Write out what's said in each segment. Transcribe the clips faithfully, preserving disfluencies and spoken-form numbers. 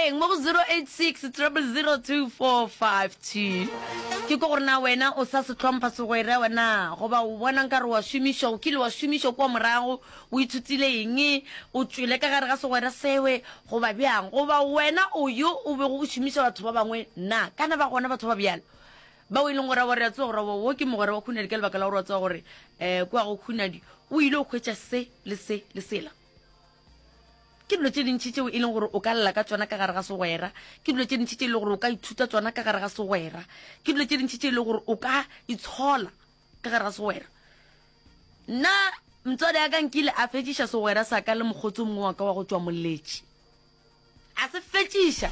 Eng mo go zero eight six triple zero two four five two. Ke ko gore na wena o sa se hlompha segwera wena goba o bona nkare wa šomišwa, o kile wa šomišwa kua morago, o ithutile eng, o tšwele ka gare ga segwera sewe goba bjang, goba wena o yo o bego o šomiša batho ba bangwe na? Kana ba gona batho ba bjalo bao e leng gore wa re a tseba gore wo ke mogwera wa Khunadi ka lebaka la gore wa tseba gore um kua go Khunadi o ile o hwetša se le se le sela. Ke dilo tše dintši tšeo e leng gore o ka lla ka tšona ka gare ga segwera. Ke dilo tše dintši tše e leng gore o ka ithuta tšona ka gare ga segwera. Ke dilo tše dintši tše e leng gore o ka itshola ka gare ga segwera. Nna motswadi ya ka nkile a fetšiša segwera sa ka le mokgotsi o mongwe wa ka wa go tšwa Moletši. A se fetšiša.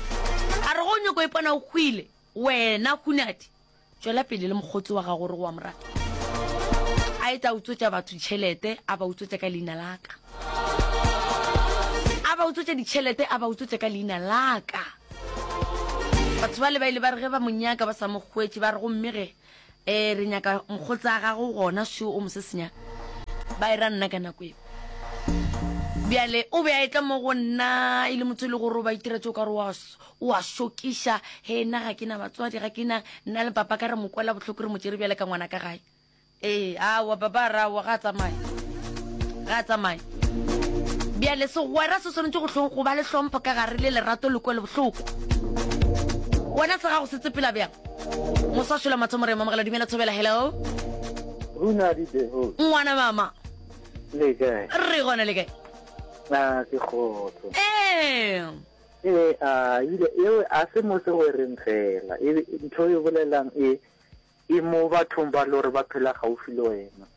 A re go o nyoko ipona o hwile, wena Hunadi, tšwela pele le mokgotsi wa gago gore o a mo rata. A e tla utswetša batho ditšhelete, a ba utswetša ka leina la ka. A ba utswetša ditšhelete, a ba utswetša ka leina la ka. Batho bale ba ile ba re ge ba mo nyaka ba sa mo hwetše, ba re gomme ge eh re nyaka mokgotsi a gago gona šo o mosesenya. Ba e ra nna ka nako eo. Bjale o be a etla mo go nna e le motho e le gore o ba itira tše o ka re o a o a šokiša. He nna ga ke na batswadi, ga ke na nna le papa ka re mo kwela bohloko re mo tšere bjale ka ngwana ka gae. Ee, aowa papa a re aowa ga a tsamaye. Ga a tsamaye. Bjale segwera se swanetše go hlo go ba le hlompho ka gare le lerato le kwelo bohloko. Wena sa gago se tsepela bjang? Moswa Šola Mathomo re mamogela dumela thobela hello. Runa di the host. Ngwana mama. Le kae? Re gona le kae? A ke kgotso. Ee. Ee, a ile eo a se mo segwereng fela. E ntho e bolelang e e mo bathong ba lore ba phela gaufi le wena.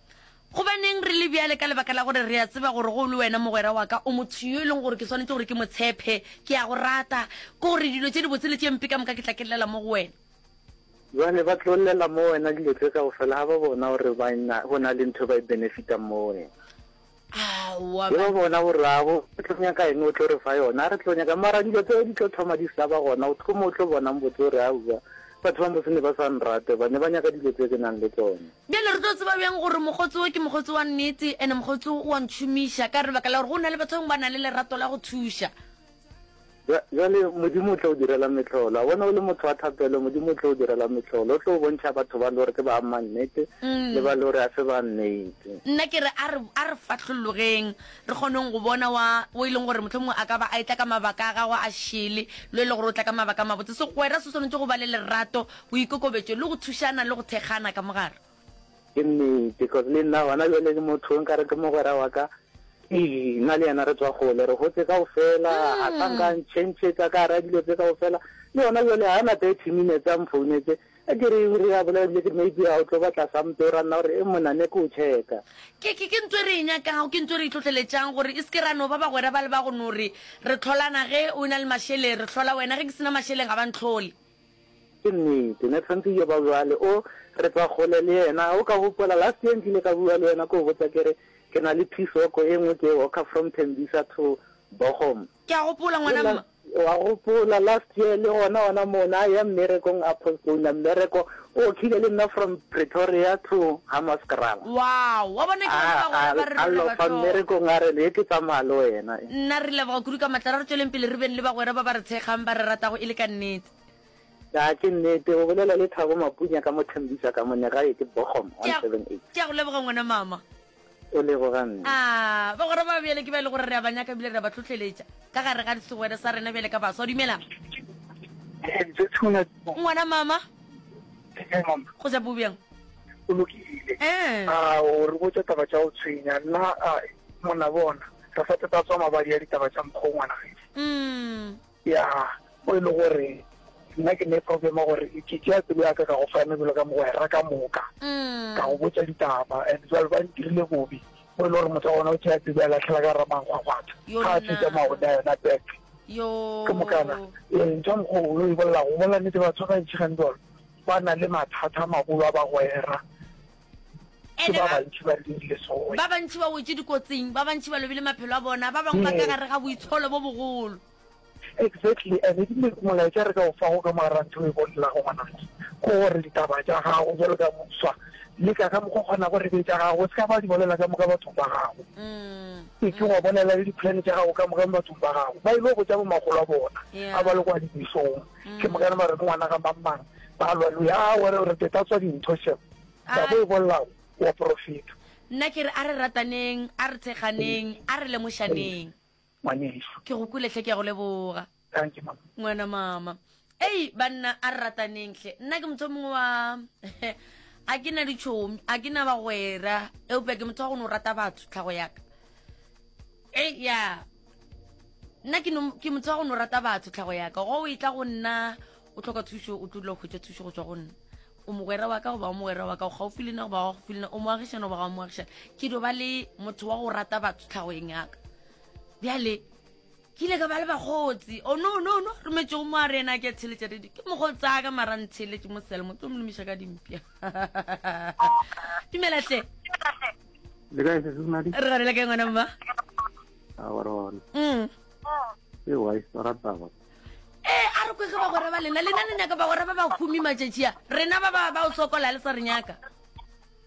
Gobaneng re le bjale? Ka lebaka la gore re a tseba gore go le wena mogwera wa ka o motho yo e leng gore ke swanetše gore ke mo tshepe, ke a go rata, ke gore dilo tše dibotse le tše mpe ka moka ke tla ke llela mo go wena. Jwale ba tlo llela mo wena dilo tše kaofela ga ba bona gore ba na go na le ntho ba e benefitang mo wena. Aowa Ge ba ba bona gore a bo re tlo nyaka eng o tlo re fa yona, a re tlo nyaka mara dilo tseo di tlo thoma di sa ba gona, o tlo mo o tlo bonang botse gore aowa batho ba motse ne ba sa nrate ba ne ba nyaka dilo tse ke nang le tsona. Bjale re tlo tseba bjang gore mokgotsi wo ke mokgotsi wa nnete ene mokgotsi wo o a ntšhomiša ka lebaka la gore go na le batho ba bangwe ba na le lerato la go thuša. Bja- Bjale Modimo o tlo o direla mehlolo. A bona o le motho wa thapelo, Modimo o tlo o direla mehlolo. O tlo o bontšha batho ba le gore ke ba amma nnete le ba le gore a se ba nnete. Nna ke re a re a re fahlollogeng re kgoneng go bona wa o e leng gore mohlomongwe a ka ba a etla ka mabaka a gagwe a šele le e le gore o tla ka mabaka a mabotse. Segwera se swanetše go ba le lerato, boikokobetšo le go thušana le go thekgana ka mogare. Ke nnete, cause le nna gona bjale ke motho o nkare ke mogwera wa ka. Ee, nna le yena re tswa kgole, re gotse kaofela, a sa nka a ntšhentšhetša ka gare ga dilo tse kaofela. Le yona bjale ga na thirty minutes a mfounetse, a ke re re a bolela ebile ke re maybe a o tlo batla something, o ra nna gore e monna ne ke o checka. Ke, ke, ke ntho e re e nyakago, ke ntho e re e hlohleletšang, gore e se ke ra no ba bagwera ba le ba go no re re hlolana ge o na le mašeleng, re hlola wena, ge ke se na mašeleng ga ba ntlhole. Ke nnete, ne tshwantse yo ba bjale, o re tswa kgole le yena. O ka gopola last year nkile ka bua le wena ke o botsa ke re ke na le piece work e nngwe ke walker from Tembisa to Bochum. Ke a gopola ngwana mma. Wa gopola last year le gona gona mo na ya mmerekong a postpone mmereko o khile le nna from Pretoria to Hammanskraal. Wow, wa bona ke bona bagwera ba re A re lofa ba mmerekong a re le ke tsamaya le wena. Nna re leboga kudu ka matla, ra re tšweleng pele re beng le bagwera ba ba re thekgang ba re ratago e le ka nnete. Ya ke nnete o bolela le Thabo Mapunya ka mo Tembisa ka mo negae ke Bochum Ke a one seven eight. ke a go leboga ngwana mama. O leboga nna. A bagwera ba bjale ke ba e le gore re a ba nyaka ebile re a ba hlohleletša ka gare ga segwera sa rena bjale ka baswa. Dumelang. Ngwana mama. Go ja bo bjang? O lokile. Eh. A o re botša taba tša go tshwenya nna a monna bona re sa teta tswa mabadi ya ditaba tša mokgwa ngwana gešo. Mm. Ya o e le gore nna ke ne problem gore ke tšea pelo ya ka ka go fa mebelo ka mogwera ka moka Mm. ka go botša ditaba and jwale ba ntirile bobe o e le gore motho wa gona o tšea pelo ya latlhela ka ramangwagwatha Yo ga a fetša nna. maone a yona back Yo. ke mokana ee ntho ya mokgwa o e bolela go bolela nnete batho ba bantši gantsi jalo ba na le mathata a magolo a bagwera ke Ene ba ba bantši ba dirile so ba bantši ba wetše dikotsing, ba bantši ba lobile maphelo a bona, ba bangwe ba ka Yes. gare ga boitsholo bo bogolo. Exactly, and ebile molaetša re ka o fago ka mogara ntho e bolelago ngwanake Ke gore ditaba tša gago bjalo ka moswa, leka ka mokgwa o kgonago re be tša gago, o se ka ba di bolela ka moka bathong ba gago. Se ke wa bolela le di-plan tša gago ka moka mo bathong ba gago. Ba ile go botša bomakgolo a bona a ba le kwa dibesong. Ke mokane ba re ke ngwana ga mang mang, ba lwa le ya gore re te tatswa dintho shem. Taba e bolelago wa profeta. Nna ke re a re rataneng, a re thekganeng, a re lemošaneng. Ngwanešu. Ke go kwele hle, ke a go leboga. Thank you mama. Ngwana mama. Ei banna a re rataneng hle. Nna ke motho o mongwe wa a ke na ditšhomi, a ke na bagwera, eupša ke motho wa go no rata batho tlhago ya ka. Ei ya. Nna ke no ke motho wa go no rata batho tlhago ya ka. Go o etla go nna o hloka thušo, o tlo dula o hwetša thušo go tšwa go nna. O mogwera wa ka goba o mogwera wa ka, o gaufi le nna goba ga o gaufi le nna, o moagišane goba ga o moagišane. Ke dio ba le motho wa go rata batho tlhagoeng ya ka. Bjale ke ile ka ba le bakgotsi. Oh no no no, rometšego mo a re yena ke a theletša radio. Ke mokgotsi a ka mara ntheletše mo selmo, tlo mo lomiša ka dimpša. Dumela hle. Le kae sesi Madi? Re gane le kae ngwana mma? A wa rona. Mm. E wa e rata ba. Ee, a re kwege bagwera ba lena. Lena le nyaka bagwera ba ba humi matšatši a. Rena ba ba ba o sokola le sa re nyaka.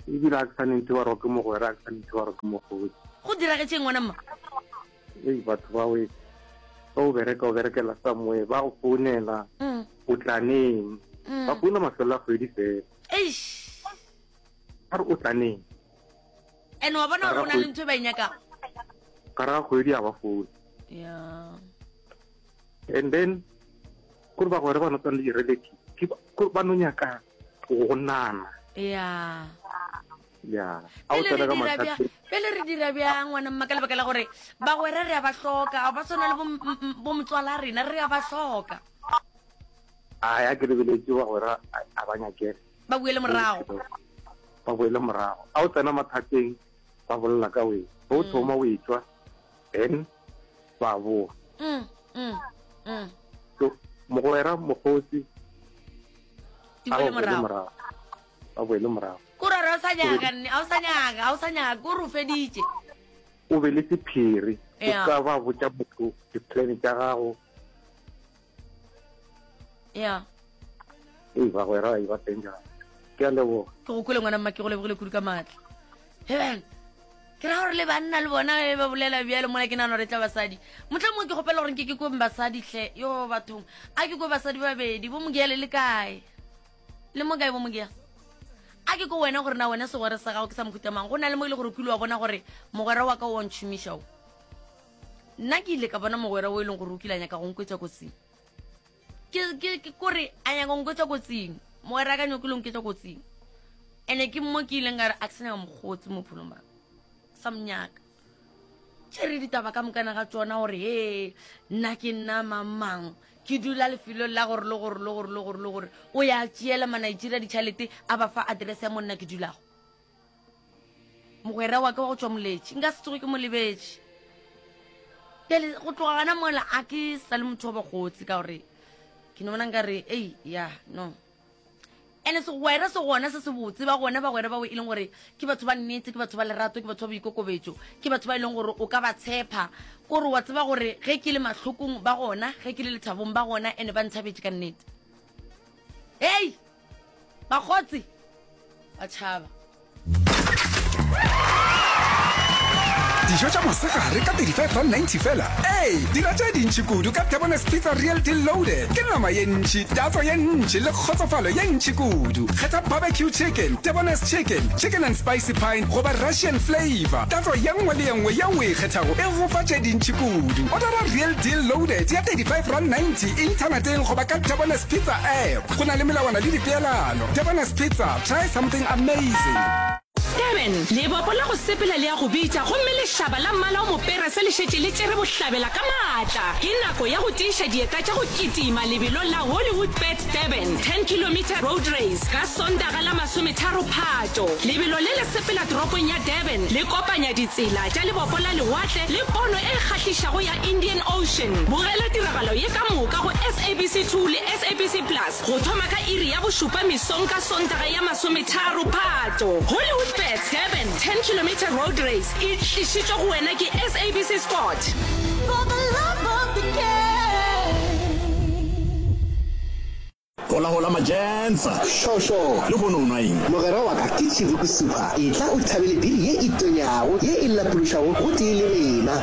Ebile a ke sa nentse ba re ke mogwera, a ke sa nentse ba re ke mogodi. Go diragetšeng ngwana mma? Ei, batho ba we ba o bereka, o berekela somewhere, ba go founela, Mm. o tla neng? Mm. Ba founa mafelo a kgwedi fela. Eish. Ba re o tla neng? Ene wa bona gore o na le ntho e ba e nyakago. Gare ga kgwedi a ba foune. Yeah. And then kore bagwera ba no tswana le di-relative, ke ba- kore ba no nyaka go nana. Yeah. Ya. A o Pele re tsena ka dira bjang, mathateng. pele re dira bjang ngwana mma, ka lebaka la gore bagwera re a ba hloka, ga ba tshwana le bo m-, m-, bo motswala rena, re a ba hloka. Ai, a ke lebeletše bagwera, a, a ba nyakele. Ba boele morago. Ba boele morago. A o tsena mathateng, ba bolela ka wena. Ba o thoma o etšwa, then ba boa. Mm, mm, mm. So, mogwera, mokgotsi, Di a boele ba boele morago. morago. Ba boele morago. Kore a o sa nyaka nne, a o sa nyaka, a o sa nyaka, kore o feditše. O be le sephiri. O Yeah. ka ba botša motho di-plan tša gago. Yeah. Ei, bagwera ba teng jang. Ke a leboga. Ke go kwele ngwana mma, ke go lebogile kudu ka maatla. Heban, ke ra gore le banna le bona ge ba bolela bjalo mola ke nagana gore e tla basadi. Mohlomongwe ke kgopela gore nke ke kwe basadi hle, yo bathong. A ke kwe basadi ba babedi, bo Mogia le le kae? Le mo kae bo Mogia? A ke ko wena gore na wena segwera sa gago ke sa mohuta mang? Go na le mo e le gore o kile wa bona gore mogwera wa ka o wa ntšhomiša o. Nna ke ile ka bona mogwera o e leng gore o kile a nyaka go nkwetša kotsing. Ke, ke, ke kore a nyaka go nkwetša kotsing. Mogwera ka nyakile go nketša kotsing. Ene ke mo ke ileng ka re a ke sa nyaka mokgotsi mo bophelong ba ka. Sa monyaka. Tšere ditaba ka mokana ga tšona gore he, nna ke nna mang mang. Ke dula lefelong la gore le gore le gore le gore le gore. O ya tšeela ma-Nigeria ditšhelete a ba fa address ya mo nna ke dulago. Mogwera wa ka wa go tšwa Moletši, nka se tsoge ke mo lebetše. Bjale go tloga gona mola a ke sa le motho wa bakgotsi ka gore ke no bona nkare, ei, ya, no. Ene segwera se gona se se botse, ba gona bagwera bao e leng gore ke batho ba nnete, ke batho ba lerato, ke batho ba boikokobetšo, ke batho ba e leng gore o ka ba tshepa. Kore wa tseba gore ge ke le mahlokong ba gona, ge ke le lethabong ba gona, ene ba nthabetše ka nnete. Hei, bakgotsi ba tšhaba. Dijo tša mosegare ka thirty-five rand ninety fela. Ei, dira tše dintši kudu ka Debonairs Pizza Real Deal Loaded. Ke nama ye ntši, tatso ye ntši le kgotsofalo ye ntši kudu. Kgetha barbecue chicken, Debonairs chicken, chicken and spicy pine goba Russian flavor. Tatso ye nngwe le ye nngwe yeo o e kgethago e go fa tše dintši kudu. Order Real Deal Loaded ya thirty-five rand ninety inthaneteng goba ka Debonairs Pizza app. Go na le melawana le dipeelano. Debonairs Pizza, try something amazing. Durban, lebopo la go sepela le ya go bitša gomme lešaba la mmala o mopere se le šetše le tšere bohlabela ka maatla. Ke nako ya go tiiša dieta tša go kitima lebelong la Hollywood Bets Durban ten kilometer road race ka Sontaga la masometharo Phato. Lebelo le le sepela toropong ya Durban le kopanya ditsela tša lebopo la lewatle le pono e kgahlišago ya Indian Ocean. Bogela tiragalo ye ka moka go S A B C two le S A B C Plus go thoma ka iri ya bošupa mesong ka Sontaga ya masometharo Phato. Hollywood Bets Durban ten kilometer road race e tlišitšwe go wena ke S A B C Sport. For the love of the game. Go Hola hola majensa. Šošo. Lehono o nwa eng? Mogwera wa ka, ke Chibuku Super. Etla o thabele biri ye e tonyago, ye e lapološago gotee le rena.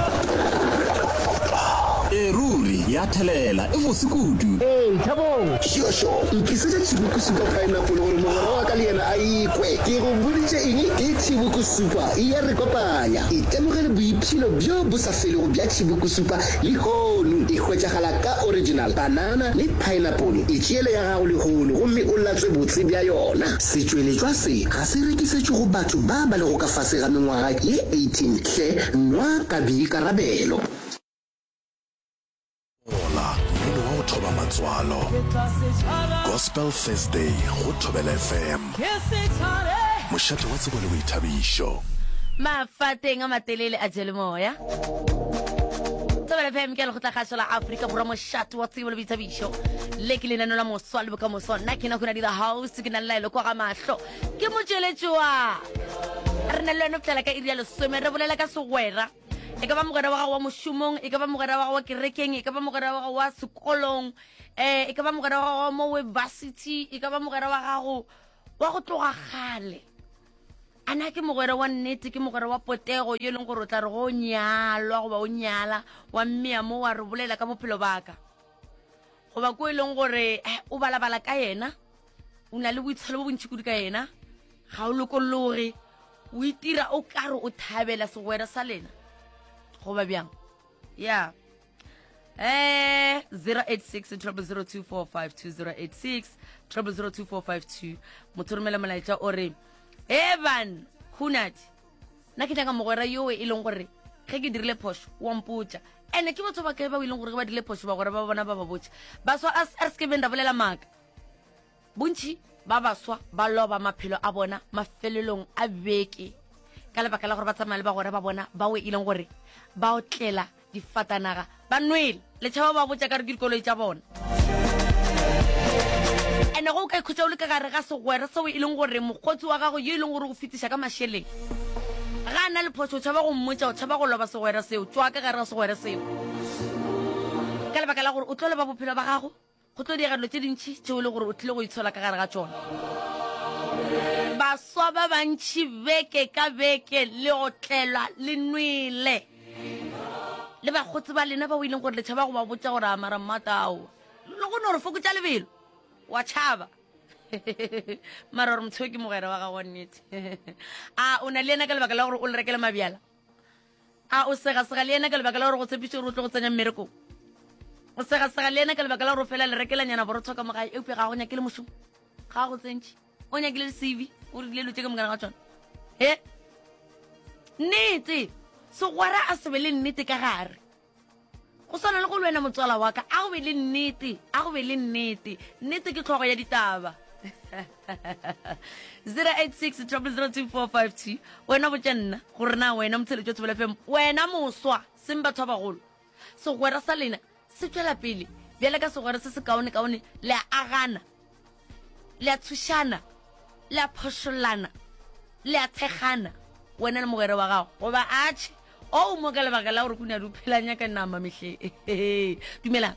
Ee ruri, ya thelela, e bose kudu. Ee, Thabong. Šošo, ntlisetše Chibuku Super Pineapple gore mogwera wa ka le yena a ikwe. Ke go boditše eng? Ke Chibuku Super, e a re kopanya. Itemogele boipshino bjo bo sa felego bja Chibuku Super lehono. E hwetšagala ka original, banana le pineapple. Itšeele ya gago lehono gomme o latswe botse bja yona. Setšweletšwa se ga se rekisetšwe go batho ba ba lego ka fase ga mengwaga ye eighteen. Hle nwa ka boikarabelo. Hola, mmino wa go thoba matswalo. Gospel Thursday go Thobela F M. Mošate wa tsebo le boithabišo. Mafateng a matelele a jele moya. Thobela F M ke lekgotlakgašo la Afrika Borwa, mošate wa tsebo le boithabišo. Le ke lenaneo la moswa le bokamoso. Nna ke nako di the house, ke na le laelo kwa ga mahlo. Ke motšweletši wa re na le wena go fihlela ka iri ya lesome, re bolela ka segwera. E ka ba mogwera wa gago wa mošomong, e ka ba mogwera wa gago wa kerekeng, e ka ba mogwera wa gago wa sekolong, um e ka ba mogwera wa gago wa mo webasity, e ka ba mogwera wa gago wa go tloga kgale. A na ke mogwera wa nnete, ke mogwera wa potego yo e leng gore o tla re go nyalwa goba o nyala wa mmea mo wa re bolela ka bophelo baka, goba ko e leng gore eh, o balabala ka yena, o na le boitsholo bo bontši kudu ka yena, ga o lokologe, o itira o kare o thabela segwera sa lena, goba bjang? Ya eh zero eight six zero zero two four five two, zero eight six zero zero two four five two. Motho romela molaetša o re, eban hunati, nna ke nyaka mogwera yoo e leng gore ge ke dirile phošo wa mpotša. Ene ke batho ba kae ba o e leng gore ge ba dirile phošo bagwera ba bona ba ba botša? Baswa, a re se ke beng ra bolela maaka. Bontši ba baswa ba loba maphelo a bona mafelelong a beke ka lebaka la gore ba tsamaya le bagwera ba bona bao e leng gore ba otlela difatanaga ba nwele, letšhaba ba botša ka re ke dikoloi tša bona. Ene go o ka ikhutša o le ka gare ga segwera seo e leng gore mokgotsi wa gago yo e leng gore o fetiša ka mašeleng, ga a na le phošo o tšhaba go mmotša, o tšhaba go loba segwera seo, tšwa ka gare ga segwera seo, ka lebaka la gore o tlo loba bophelo ba gago. Go tlo diega dilo tše dintši tšeo e le gore o tlile go itshola ka gare ga tšona. Baswa ba bantši beke ka beke le otlelwa le nwele le bakgotsi ba lena bao e leng gore le tšhaba go ba botša gore a mara mmatao le go no re fokotša lebelo, wa tšhaba, mara gore motho ke mogwera wa gago wa nnete, a o na le yena ka lebaka la gore o le rekele mabjala? A o segasega le yena ka lebaka la gore go tshepiše gore o tlo go tsenya mmerekong? O segasega le yena ka lebaka la gore o fela le rekelanyana borotho ka mogae, eupša ga go nyake le mošomo, ga go tsentšhe, o nyakile le C V, o rile dilo tše ka mokana ga tsona? He, nnete segwera a se be le nnete ka gare. Go swana le go le wena motswala wa ka, a go be le nnete, a go be le nnete. Nnete ke tlhogo ya ditaba. zero eight six zero zero two four five two. Wena botša nna gore na wena motsheletso Thobela F M, wena moswa, seng batho ba bagolo, segwera sa lena se tšwela pele bjale ka segwera se se kaone-kaone? Le a agana, le a thušana, le a phošollana, le a thekgana, wena le mogwera wa gago, goba atšhe o mo ka lebaka la gore kuna di o phelanya ka nama mehle? Dumelang.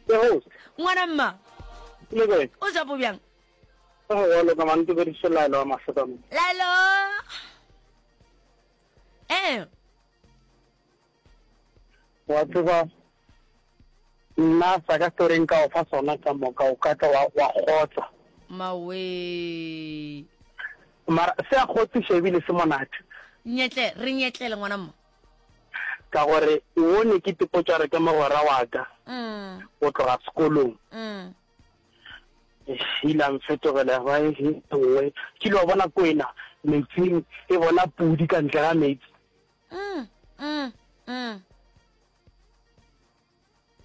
Ke host. Ngwana mma. Le kae? O japo bjang? Go wa loka man, ke bediše Laelo wa Mahlokamo. Laelo, ee. Wa tseba, nna sa ka story nka o fa sona ka moka, o ka tla wa wa kgotsa. Mawe. Mara se a kgotsiša ebile se monate. Nyetle re nyetlele, ngwana mma. Ka gore o ne ke tipotša re ke mogwera wa ka mm. go tloga sekolong. Mm. Ile a mfetogela ba e nngwe. Ke ile wa bona kwena metsing e bona pudi ka ntle ga metsi. Mm. Mm. Mm.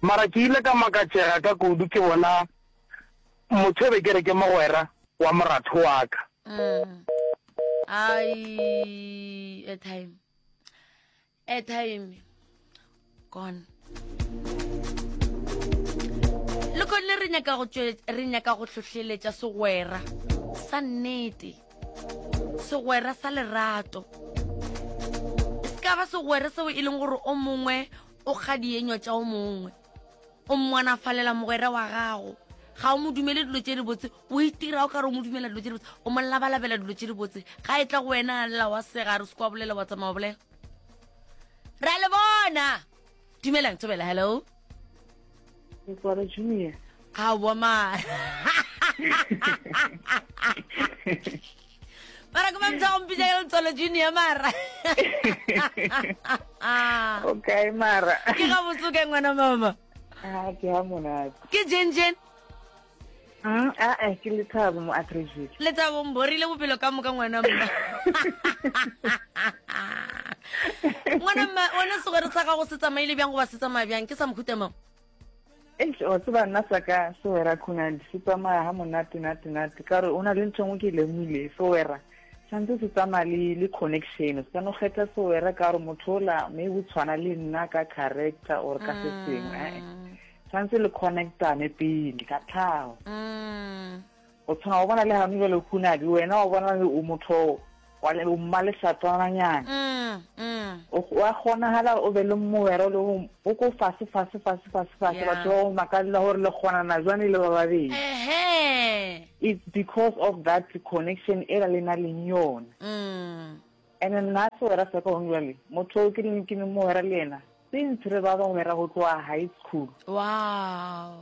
Mara ke ile ka makatšega ka kudu ke bona motho e be ke re ke mogwera wa moratho wa ka. Mm. Ai, airtime. Airtime. Gone. Le kone re nyaka go tšwe re nyaka go hlohleletša segwera sa nnete, segwera sa lerato. E se ka ba segwera seo e leng gore o mongwe o kga dienywa tša o mongwe, o mmanafalela mogwera wa gago. Ga o mo dumele dilo tše dibotse, o itira o ka re o mo dumela dilo tše dibotse, o mo labalabela dilo tše dibotse. Ga e tla go wena a lla wa sega, re se kwa bolela wa tsamaya wa bolela. Ra le bona. Dumelang Thobela, hello. Letswalo Junior. Aowa mara. Mara ke mamtha go mpitša ka Letswalo Junior mara. O kae mara? Ke gabotse o kae ngwana mama? Ah, ke ha monate. Ke Jen Jen. Mm, a eh ke Lethabo mo Atteridgeville. Lethabo mborile bophelo ka moka ngwana mma. Ngwana mma, wena segwere sa gago se tsamaile bjang goba se tsamaya bjang? Ke sa mohuta mang? Eish, wa tseba nna sa ka sewera khunadi se tsamaya ha monate nate nate ka gore o na le ntho e nngwe ke e lemogile sewera santse se tsamaya le le connection se ka no kgetha sewera ka gore motho ola maybe o tshwana le nna ka character or ka se sengwe eh santse le connectane pele ka tlhago o tshwana o bona le gane jale khunadi wena o bona o motho wa le o mma lesatwananyana wa kgonagala o be le mogwera o le o ko fase fase fase fase fase batho ba go makalela gore le kgonana jwang le ba babedi it's because of that connection e la le na leng yona and nna segwera sa ka gone jwale motho o ke leng ke le mogwera le yena since re ba bagwera go tloga high school wow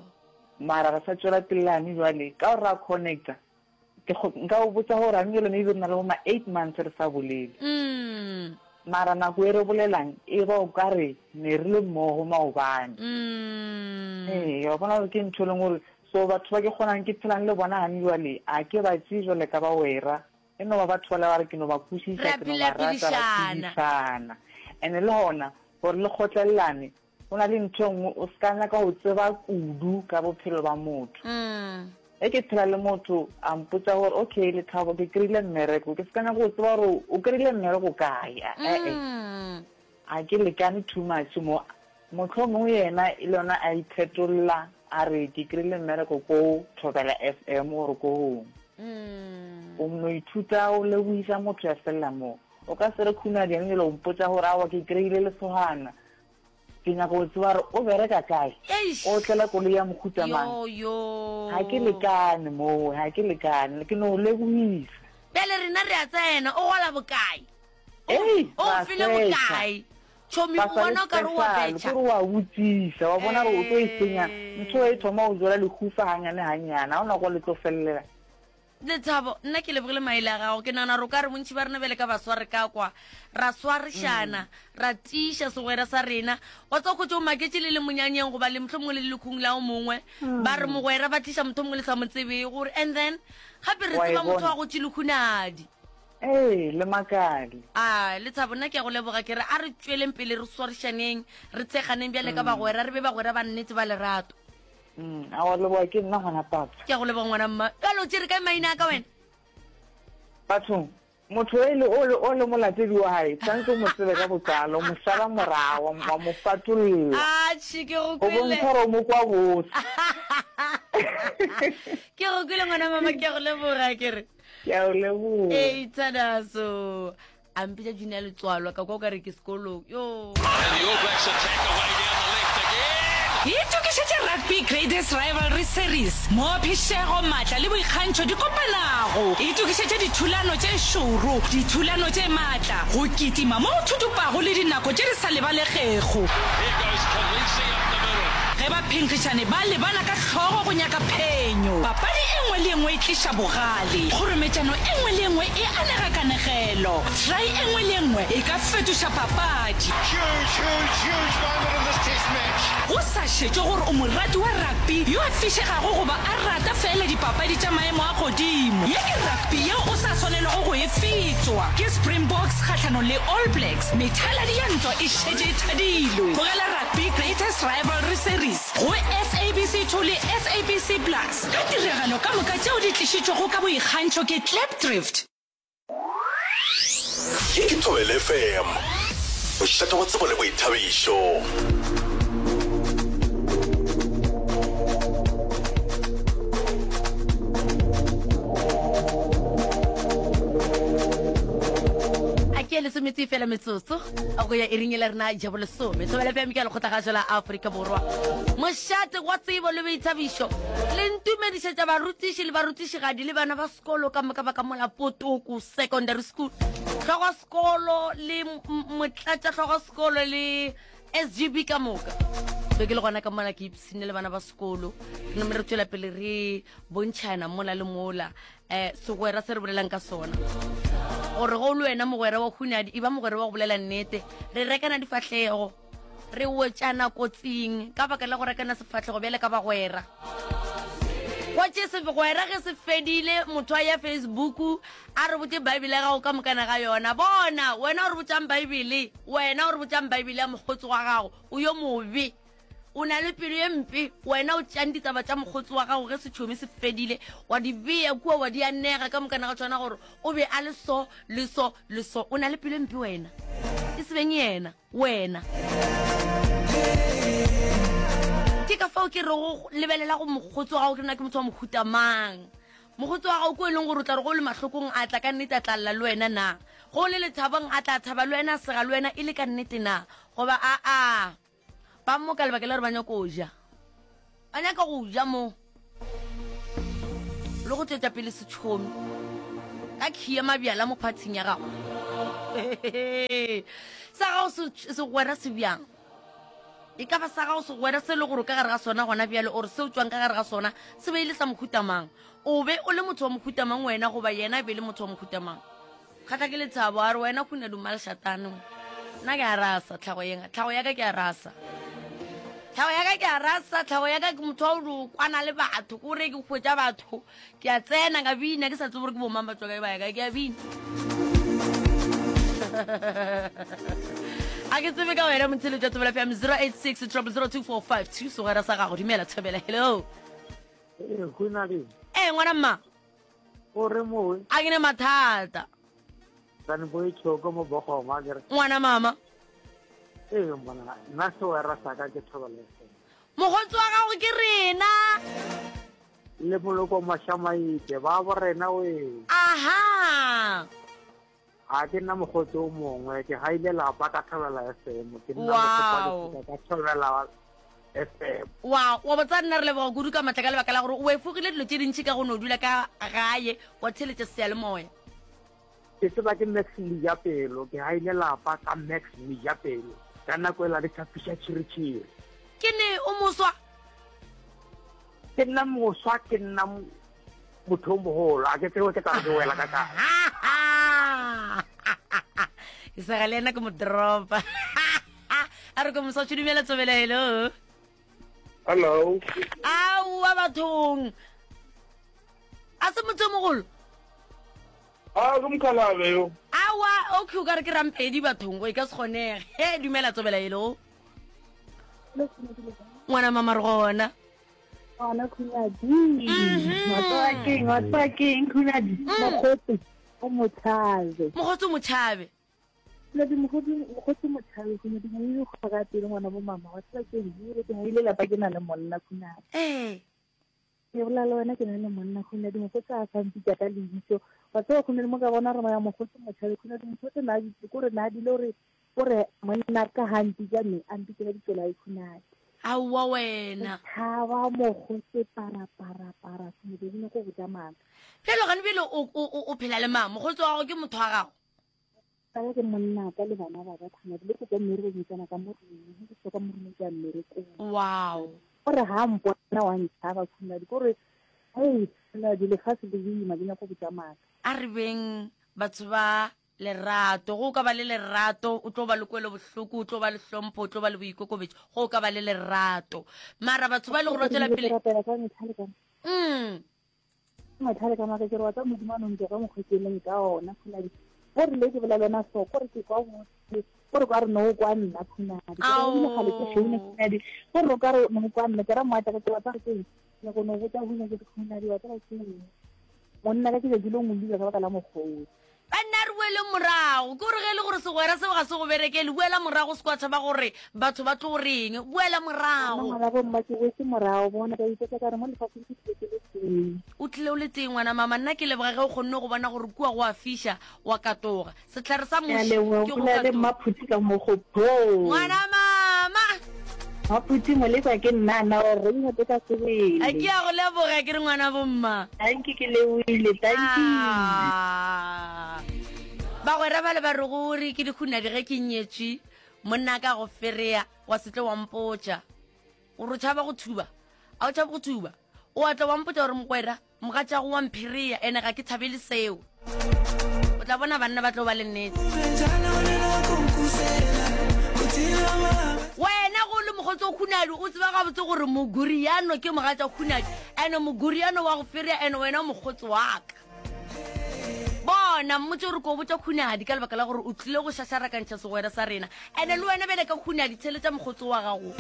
mara re sa tswela pele jwale ka gore ra connecta ke nka o botsa gore gane jwale maybe re na le bo ma eight months re sa bolele mara nako e re bolelang e ba o ka re ne re le mmogo maobane ee wa bona gore ke ntho e leng gore so batho ba ke kgonang ke phelang le bona gane jwale a ke ba tseye jwale ka ba wera e no ba batho bale ba re ke no ba kwešiša ke no ba rata ra phedišana and le gona gore le kgotlelelane go na le ntho e nngwe o se ka nyaka go tseba kudu ka bophelo ba motho e ke phela le motho a mpotsa gore okay Lethabo ke kry-ile mmereko ke se ka nyaka go tseba gore o kry-ile mmereko kae ee a ke lekane too much mo motlho mongwe yena e le yona a iphetolla a re ke kry-ile mmereko ko Thobela F M gore ko gongwe o no ithuta o leboisa motho ya felela moo o ka se re khunadi ene jale o mpotsa gore aowa ke kry-ile lesogana ke nyaka go tseba gore o bereka kae o tlela koloi ya mohuta mang ga ke lekane moo ga ke lekane ke no leboisa bjale rena re a tsena o gola bokae o file bokae tšhomi o bona o ka re wa betšha kore wa botsisa wa bona gore o tlo e senya ntho e thoma o jola lehufa ganyane ganyane ga o nako le tlo felelela Lethabo nna ke lebogile maele a gago ke nagana gore o ka re bontši ba rena bjale ka baswa re ka kwa ra swarišana ra tiiša segwera sa rena wa tseba khotse o maketše le le monyanyeng goba le mohlomongwe le le lekhung la o mongwe ba re mogwera ba tliša motho mongwe le sa mo tsebego gore and then gape re tseba motho wa go tše lekhunadi ee le makale a Lethabo nna ke a go leboga ke re a re tšweleng pele re swarišaneng re tsheganeng bjale ka bagwera re be bagwera ba nnete ba lerato Mm, a wa leboga ke nna gona papa. Ke a go leboga ngwana mma. Bjale o tšere kae maina a ka wena? Bathong, motho e le o le o le molatedi wa hae, tshwanetse o mo tsebe ka botlalo, o mo šala morago, wa mo fatolla. Atšhe, ke go O kwele. bontsha gore o mo kwa botse. Ke go kwele ngwana mama, ke a go leboga ke re. Ke a go leboga. Ee, Thanaso. A mpitša Junior Letswalo, ka kwa o ka re ke sekolong. Yo. Itokišetše Rugby Greatest Rivalry Series, moo phišego, maatla le boikgantšho di kopanago. Itokišetše dithulano tše šoro, dithulano tše maatla, go kitima mo go thutupago le dinako tše di sa lebalegego. Ge baphenkgišani ba lebana ka hlogo go nyaka phenyo, papadi e nngwe le e nngwe e tliša bogale, kgorometšano e nngwe le e nngwe e anega kanegelo, try e nngwe le e nngwe e ka fetoša papadi. Go sa šetšwe gore o morati wa rugby yo a fišegago goba a rata feela dipapadi tša maemo a godimo, ye ke rugby yeo o sa swanelago go e fetšwa. Ke Springboks kgahlanong le All Blacks, methaladi ya ntwa e šetše e thadilwe. Bogela Rugby Greatest Rivalry Series go S A B C two le S A B C Plus ka tiragalo ka moka tšeo di tlišitšwego ka boikgantšho ke Klipdrift. Ye ke Thobela F M, mošate wa tsebo le boithabišo. A ke lesome Lesomete fela metsotso go ya iring e la rena ja bolesome. Thobela F M ke ya lekgotlagašo la Afrika Borwa. Mošate wa tsebo le boithabišo le ntumedišetša barutiši le barutišigadi le bana ba sekolo ka moka ba ka mola Potoko Secondary School. Hlogo sekolo le motlatša hlogo sekolo le S G B ka moka. Be ke le gona ka mola ke ipshine le bana ba sekolo. Re name re tšwela pele re bontšhana mola le mola eh segwera se re bolelang ka sona. Gore go le wena mogwera wa Hunadi, e ba mogwera wa go bolela nnete. Re rekana difahlego, re wetšana kotsing ka baka la go rekana sefahlego bjale ka bagwera. Kwa tše segwera ge se fedile, motho a ya Facebook a re botše Bible ya gago ka mokana ga yona. Bona, wena o re botšang Bible, wena o re botšang Bible ya mokgotsi wa gago, o yo mobe. O na le pelo ye mpe, wena o tšang ditaba tša mokgotsi wa gago ge setšhomi se fedile, wa di bea kua wa di anega ka mokana ga tšona gore o be a le so le so le so. O na le pelo e mpe wena, e se beng yena, wena. Ke ka fao ke rego lebelela go mokgotsi wa gago, ke nna ke motho wa mohuta mang. Mokgotsi wa gago ko e leng gore o tla re go le mahlokong a tla ka nnete a tla lla le wena na? Go le lethabong a tla thaba le wena, a sega le wena e le ka nnete na? Goba aa, ba mo ka lebaka la gore ba nyaka go ja. Ba nyaka go ja mo. Le go tšwetša pele setšhomi. Ka khia mabjala mo phathing ya gago. Sa gago segwera se bjang? E ka ba sa gago segwera se le gore ka gare ga sona gona bjale ore se o tšwang ka gare ga sona se be e le sa mohuta mang? O be o le motho wa mohuta mang wena goba yena e be le motho wa mohuta mang? Kgatla ke lethabo a re wena khuna duma lešatane. Nna ke a rasa tlhago yenga, tlhago ya ka ke a rasa. Tlhago ya ka ke a rasa, tlhago ya ka ke motho wa go kwana le batho, ko re ke hwetša batho, ke a tsena ka bina ke sa tsebe gore ke bomang ba tswa kae ba ya kae, ke a bina. A ke tsebe ka wena motheletši wa Thobela F M zero eight six triple zero two four five two segwera sa gago. Dumela Thobela, hello. Eh, Khunadi. Eh, ngwana mma. O re mowe. A ke ne mathata. Tsane bo tshoko mo bogoma ke re. Ngwana mama. Eh, mbona nna segwera sa ka ke Thobela F M. Mokgotsi wa gago ke rena. Le moloko Mashamaite ba bo rena we. Aha. A ke nna mokgotsi o mongwe, ke gaile lapa ka Thobela F M, ke nna Wow. mokgotsi ka Thobela F M. Wow, wa botsa nna re leboga kudu ka matla ka lebaka la gore o efogile dilo tše dintši ka go no dula ka gae wa theletša seyalemoya. Ke tseba ke Max Mojapelo, ke gaile lapa ka Max Mojapelo. Ka nako e la re tšhapiša tšhiritšhiri. Ke ne o moswa? Ke nna moswa, ke nna motho o mogolo, a ke tsebe ke tla re ke wela ka kae. Ke sa ga le ena ke mo dropa. A re ko moswa tšho dumela Thobela, hello. Hello. Aowa bathong. A se motho o mogolo? A ke mokgalabe yo. Aowa, okay, o ka re ke rampedi bathong, e ka se kgonege. He, dumela Thobela, hello. Ngwana mama re gona. Ngwana Khunadi. Wa tseba keng, wa tseba keng Khunadi? Mokgotsi o motshabe. Mokgotsi o motshabe. Khunadi, mokgotsi, mokgotsi o motshabe, Khunadi, mo ile go ga pele ngwana bo mama, wa tseba keng? Ebile ke ile lapa ke na le monna Khunadi. Eh. Ke bolela le wena ke na le monna Khunadi, mokgotsi a sa mpitsa ka lebitso. Wa tseba Khunadi mo ka bona re moya mokgotsi motshabe Khunadi, mokgotsi na di ko re na di le hore o re monna ka ha mpitsa me, a mpitsa ka ditso la Khunadi. Aowa wena. Thaba mokgotsi para para para, Khunadi, ke nyako botsa mama. Bjalo gane bjale o, o, o, o phela le mang? Mokgotsi wa gago ke motho wa gago? Ka ke monna ka le bana ba ka Khunadi, le ke ka mmerekong, ke tsena ka mo roomong, ke tswa ka mo roomong ke ya mmerekong. Wow. O re ha mpona wa ntshaba Khunadi, ke gore, hei, Khunadi, lefatshe le boima, ke nyako botsa maka. A re beng batho ba lerato, go ka ba le lerato, o tlo ba le kwelo bohloko, o tlo ba le hlompho, o tlo ba le boikokobetšo, go ka ba le lerato. Mara batho ba le gore ba tswela pele. Mm. Matlhale ka maka ke re wa tsa Modimo a no ntse ka mokgwa ke leng ka ona Khunadi. Go re le ke bolela le wena so, ko re ke kwa botse, ko re kwa re no kwa nna Khunadi. Ke re o gale ke founa Khunadi. Ko re ka re no kwa nna, ke ra moatla ka ke wa tsa ke eng? Ke go no botsa go nyaka ke Khunadi wa tsa ke eng? Monna ka ke le dilo ngwe ka baka la mokgotsi. Banna re boele morago. Ke gore ge e le gore segwera seo ga se go berekele, boela morago, se kwa tšhaba gore batho ba tlo reng. Boela morago. Ngwana bomma ke boetse morago, bona ka ipotsa ka re mo lefaseng ke tlile ke le tee. O tlile o le tee ngwana mama, nna ke leboga ge o kgonne go bona gore kua go a fiša, wa katoga. Sehlare sa Ke a muši leboga, ke go bolela le katoga. Mmaphuti ka mo go phoo. Ngwana mama. Mmaphuti molekwa ke nna na o reng gape ka sebele. A ke a go leboga ke re ngwana bomma. Thank you ke lebohile, thank you. Ah. Bagwera ba le ba re gore ke dihunadi ge ke nyetšwe, monna ka go ferea wa se tle wa mpotša. Gore o tšhaba go thuba, a o tšhabe go thuba. O a tla wa mpotša gore mogwera mogatšago wa mpherea ene ga ke thabele seo. O tla bona banna ba tlo ba le nnete. Wena go le mokgotsi o Khunadi o tseba gabotse gore Moguriano ke mogatša Khunadi ene Moguriano wa go ferea ene wena o mokgotsi wa ka. Bona mmotse gore ko botša Khunadi ka lebaka la gore o tlile go šašarakantšha segwera sa rena ene le wena bjale ka Khunadi theletša mokgotsi wa gago.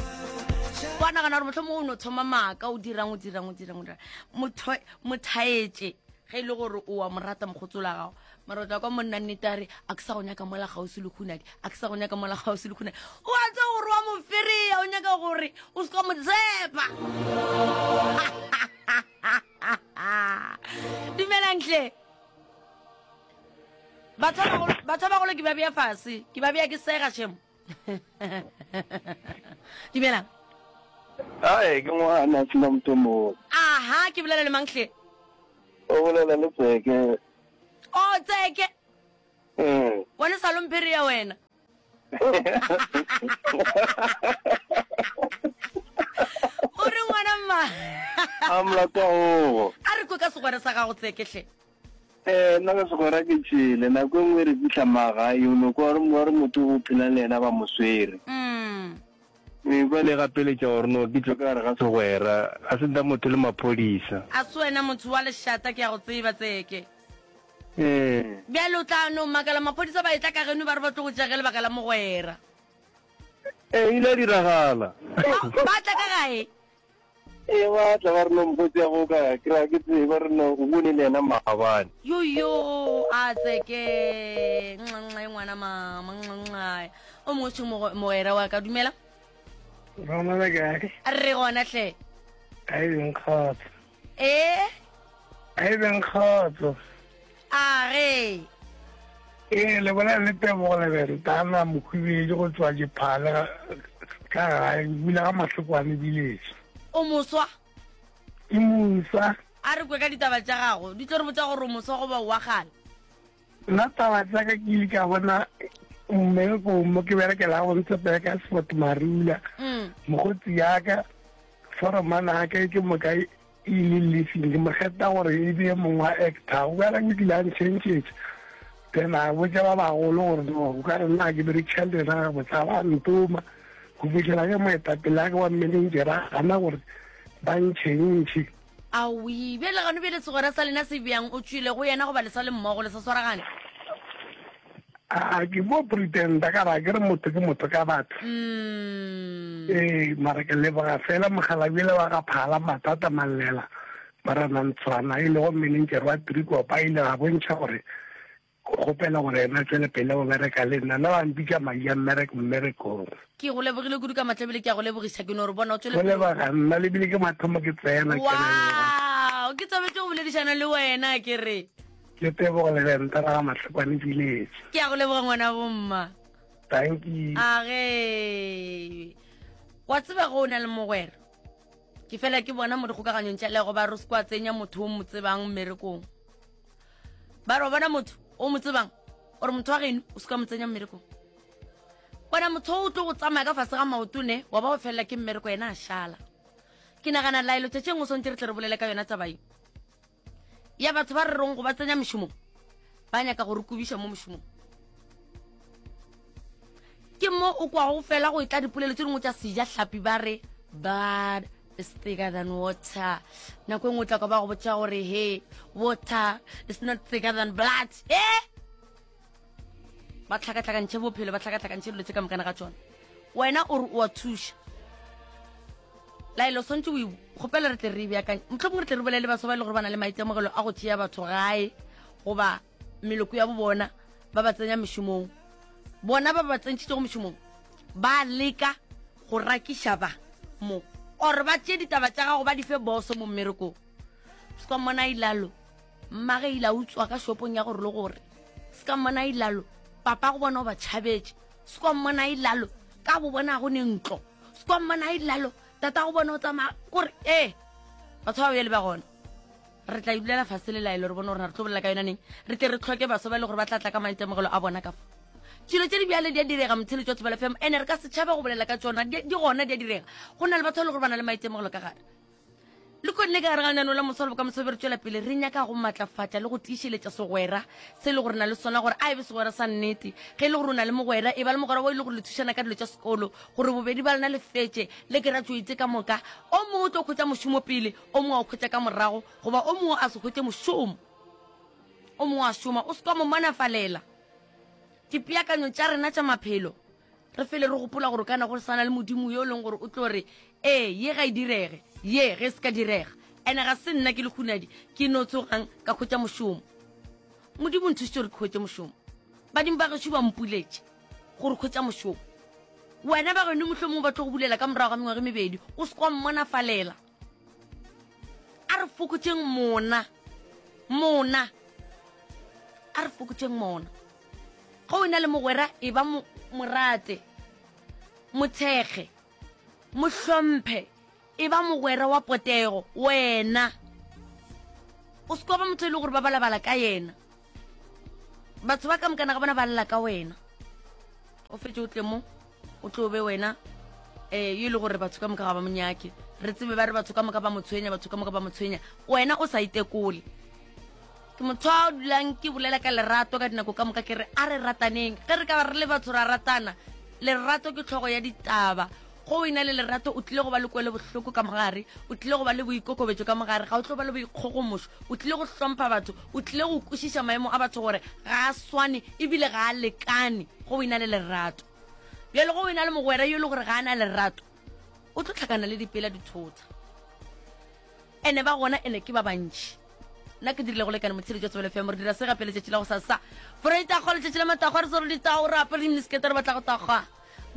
Wa nagana gore mohlomongwe o no thoma maaka o dirang o dirang o dirang o dirang motho mothaetše ge e le gore o a mo rata mokgotsi la gago mara o tla kwa monna nnete a re a ke sa go nyaka mola kgauswi le Khunadi, a ke sa go nyaka mola kgauswi le Khunadi. O a tseba gore wa mo ferea, o nyaka gore o se ka mo tshepa. Dumelang hle. Batho ba bagolo, batho ba bagolo ke ba bea fase, ke ba bea ke sega shemo. Dumelang. Ae, ke ngwana sena motho mo. Aha, ke bolela le mang hle? O bolela le Tseke. O Tseke. Mm. Wena sa lomphere ya wena. O re ngwana mma. A molato wa ogo. A re kwe ka segwera sa gago Tseke hle. Eh, nna ka segwera ke tšhele. Nako e nngwe re fihla magae, o no kwa wa re motho o phelang le yena ba mo swere. Mm. Ee, bjale gapeletša gore no ke tšwe ka gare ga segwera, ga se nna motho le maphodisa. A se wena motho wa lešata, ke a go tseba, Tseke. Ee. Bjale o tla no makala maphodisa ba etla ka geno ba re ba tlo go tšea ge lebaka la mogwera. Ee, ile ya diragala. Ba tla ka gae? Ee, ba tla ba re no mokgotsi ya go ka ke ra ke tsebe ba re no o bone le yena maabane. Yoyo, a Tseke, nxa ngwana mama, nxa. O mongwe še mogwera wa ka, dumela. Rona le kae? Re gona hle. A e beng kgotso. Ee? A e beng kgotso. A ge. Ee, le bolela le Tebogo Lebentana Mokhubedi go tšwa Diphale ka gae, bula ga Mahlokwane village. O moswa? Ke moswa. A re kwe ka ditaba tša gago, di tlo re botša gore o moswa goba o wa kgale. Nna taba tša ka ke ile ka bona mmerekong mo ke berekela go ntse ka Sport Marula. Mokgotsi ya ka foromana ya ka ke moka e ile lefing ke mo kgetha gore e be mongwe wa actor. O ka re ke ile a ntšhentšhetša. Then a botša ba bagolo gore no o ka re nna ke berekisa le yena gabotse ba ntoma go fitlhela ge moetapele a ke wa manager a gana gore ba ntšhentšhe. Aowi, bjale gano bjale segwera sa lena se bjang? O tšwile go yena goba le sa le mmogo le sa swaragane? A ke mo pretenda ka ra ke re motho ke motho ka batho. Ee, mara ke leboga fela mokgalabjele wa ga Phala Mathata Mallela Morena Ntshwana e lego manager wa Trikopa a ile a bontšha gore o kgopela gore yena a tšwele pele go bereka le nna. Nna ba mpitša Maia mmereko mmerekong. Ke go lebogile kudu ka matla ebile ke a go lebogiša. Ke no re bona o tšwele Go pele. leboga nna le bile ke mathomo ke tsena ke leboga. Wow, ke thabetše go boledišana le wena ke re. Ke Tebogo Lebenta ra ga Mahlokwane Village. Ke a go leboga ngwana bomma. Thank you. A ge wa tseba go o na le mogwera ke fela ke bona mo dikgokaganyong tša lego ba re se kwa tsenya motho o mo tsebang mmerekong. Ba re wa bona motho o mo tsebang ore motho wa geno o se ka mo tsenya mmerekong. Bona motho o tlo go tsamaya ka fase ga maoto ne wa ba o felela ke mmereko yena a šala. Ke nagana laelo tšatši engwe swantse re tle re bolele ka yona taba ye ya batho ba re rong go ba tsenya mešomong ba nyaka go re kubiša mo mošomong. Ke mo o kwago fela go etla dipolelo tše dingwe tša seja hlapi ba re blood is thicker than water. Nako e nngwe o tla kwa ba go botša gore he water is not thicker than blood. Eh? Ba tlhakatlhakantšhe bophelo, ba tlhakatlhakantšhe dilo tše ka mokana ga tšona. Wena o re o a thuša. Laelo swantše o e kgopela re tle re e beakanye. Mohlomongwe re tle re bolele le batho ba e le gore ba na le maitemogelo a go tšea batho gae goba meloko ya bo bona ba ba tsenya mešomong bona ba ba tsentšhitšego mešomong ba leka go rakiša ba mo or ba tšee ditaba tša gago ba di fe boso mo mmerekong se ka mmona ilalo mmage ile a utswa ka shopong ya gore le gore se ka mmona ilalo papa go bona o ba tšhabetše se ka mmona ilalo ka bo bona go ne ntlo se ka mmona ilalo tata go bona o tsamaya kore ee batho ba bjale ba gona re tla ibulela fase le laelo re bone gore re tlo bolela ka yona neng re tle re tlhoke baso ba e le gore ba tla tla ka maitemogelo a bona ka fa dilo tše di bjale di a direga motheletši wa Thobela F M ene re ka setšhaba go bolela ka tšona di gona di a direga go na le batho ba e le gore ba na le maitemogelo ka gare le konne ka gare ga lenaneo la moswa le bokamoso be re tšwela pele re nyaka go matlafatša le go tiišeletša segwera se e le gore na le sona gore a e be segwera sa nnete ge e le gore o na le mogwera e ba le mogwera wa e le gore le thušana ka dilo tša sekolo gore bobedi ba lena le fetše le graduate ka moka o mongwe o tlo hwetša mošomo pele o mongwe a o hwetša ka morago goba o mongwe a se hwetše mošomo o mongwe a šoma o se ka mo manafalela dipeakanyo tša rena tša maphelo re fele re gopola gore kana go sana le modimo yo e leng gore o tlo re ee ye ga e direge ye ge e se ka direga ene ga se nna ke le hunadi ke no tsogang ka hwetša mošomo modimo nthušitše gore ke hwetše mošomo badimo ba gešo ba mpuletše gore hwetša mošomo wena ba geno mohlomongwe ba tlo go bulela ka morago ga mengwaga e mebedi o se kwa mmonafalela a re fokotšeng mona mona a re fokotšeng mona ge o na le mogwera e ba morate mothekge mohlomphe e ba mogwera wa potego wena o se kwa ba motho e le gore ba balabala ka yena batho ba ka mokana ga bona ba lla ka wena o fetse o tle mo o tlo be wena um yo e le gore batho ka moka ga ba monyake re tsebe ba re batho ka moka ba mo tshwenya batho ka moka ba mo tshwenya wena o sa itekole ke motho a dulang ke bolela ka lerato ka dinako ka moka ke re a re rataneng ge re ka ba re le batho ra ratana lerato ke tlhogo ya ditaba go o ena le lerato o tlile go ba le kwele bohloko ka mogare o tlile go ba le boikokobetšo ka mogare ga o tlo ba le boikgogomošo o tlile go hlompha batho o tlile go kwešiša maemo a batho gore ga a swane ebile ga a lekane go o ena le lerato bjale go o ena le mogwera yo e le gore ga a na lerato o tlo tlhakana le dipela dithota ene ba gona ene ke ba bantši nna ke dirile go lekane motsheletši wa Tsebelo F M re dira se gape letšatši la go sasa foreitagwa letšatši la matagwa re swere ditao re apere diminiskete re batla go tagwa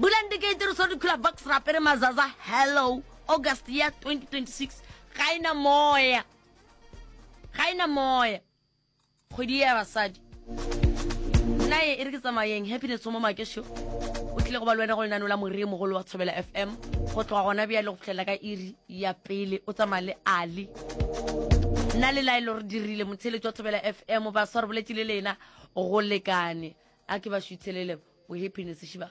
bulang dikeite re swere dikgula box re apere mazaza hello August ya twenty twenty-six ga ena moya ga ena moya kgwedi ya basadi nna e re ke tsamayeng happiness mo makešo o tlile go ba le wena go lenano la moriri mogolo wa Thobela F M go tloga gona bjale go fihlela ka iri ya pele o tsamaya le Ali nna le laelo re dirile motheletši wa Thobela F M baswa re boletše le lena go lekane a ke ba šuthelele bo happiness šiba.